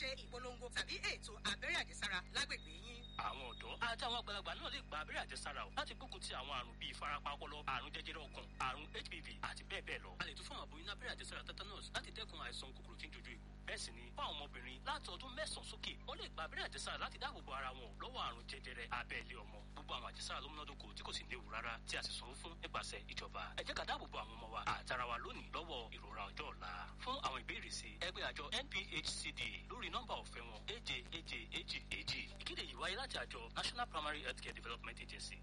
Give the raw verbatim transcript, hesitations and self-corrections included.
ṣe ìpolongo tàbí ètò abẹ́rẹ́ àjẹsára lágbègbè yín. Àwọn ọ̀dọ́ àti àwọn àgbàlagbà náà lè gba abẹ́rẹ́ àjẹsára o láti gbógun ti àwọn àrùn bíi ìfarapa ọpọlọ, àrùn jẹjẹrẹ ọkàn, àrùn H P V àti bẹ́ẹ̀ bẹ́ẹ̀ lọ. A lè tún fún àwọn aboyún ní abẹ́rẹ́ àjẹsára tetanus láti dẹ́kun àìsàn kòkòrò tí ń jojú egbò. Bẹ́ẹ̀ sì ni fún àwọn ọmọbìnrin láti ọdún mẹ́sàn-án sókè, wọ́n lè gba abẹ́rẹ́ àjẹsára láti dáàbò bo ara wọn lọ́wọ́ àrùn jẹjẹrẹ abẹ́ ilé ọmọ. Gbogbo àwọn àjẹsára ló múnádóko tí kò sì léwu rárá, tí a sì sanwó fún nípasẹ̀ ìjọba. Ẹ jẹ́ ká dáàbò bo àwọn ọmọ wa àtara wa lónìí lọ́wọ́ ìrora ọjọ́ ọ̀la. Fún àwọn ìbéèrè sí, ẹ pè àjọ N P H C D lórí nọ́mbà ọ̀fẹ́ wọn, èje èje èjì èjì. Ìkéde yìí wáyé láti àjọ National Primary Healthcare Development Agency.